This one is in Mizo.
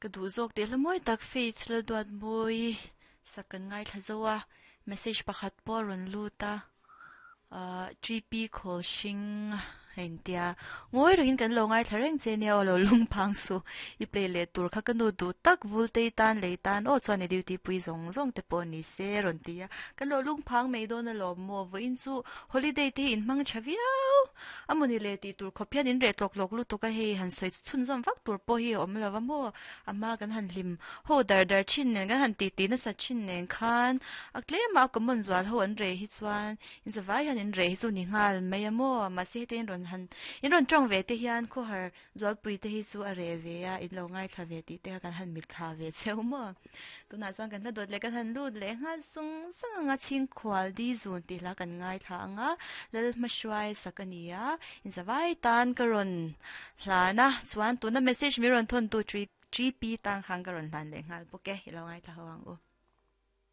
Ka duh zawk teh hla mawi tak Faith Lalduatmawi sak kan ngaithla zo a, message pakhat pawh a rawn lut a, ahh GP khawl hring a intia ngawi rengin kan lo ngaithla reng che nia aw lo lung phang suh i play leh tur kha ka nu duh tak vul tei tan lei tan aw chuan i duty pui zawng zawng te pawh ni se a rawn ti a, kan lo lung phang mai dawn alawm maw vawiin chu holiday te hi in hmang tha viau. A mawni le tih tur khawp hian in reh tlawk tlawk lutuk a hei han sawi chhunzawm vak tur pawh hi a awm lo va maw? A hma kan han hlim ho dar dar thin nen kan han tih tih nasa thin nen khan a tlema a common zual ho an reh hi chuan in zavai hian in reh hi chu ni nghal mai a maw? Mahse heti in rawn han in rawn tawng ve te hian khawhar Zualpui te hi chu a reh ve a, in lo ngaithla ve tih te kha kan han mitthla ve cheu maw? Tunah chuan kan hla dawt leh kan han lut leh nghal sung sung ang a, Chhingkhual di zun tih hla kan ngaithla ang a, Lalhmahruai sak a ni a, inzavai tan ka rawn hlan a, chuan tuna message min rawn thawn tu GP tan khan ka rawn hlan leh nghal bawk e, i lo ngaithla ho ang u.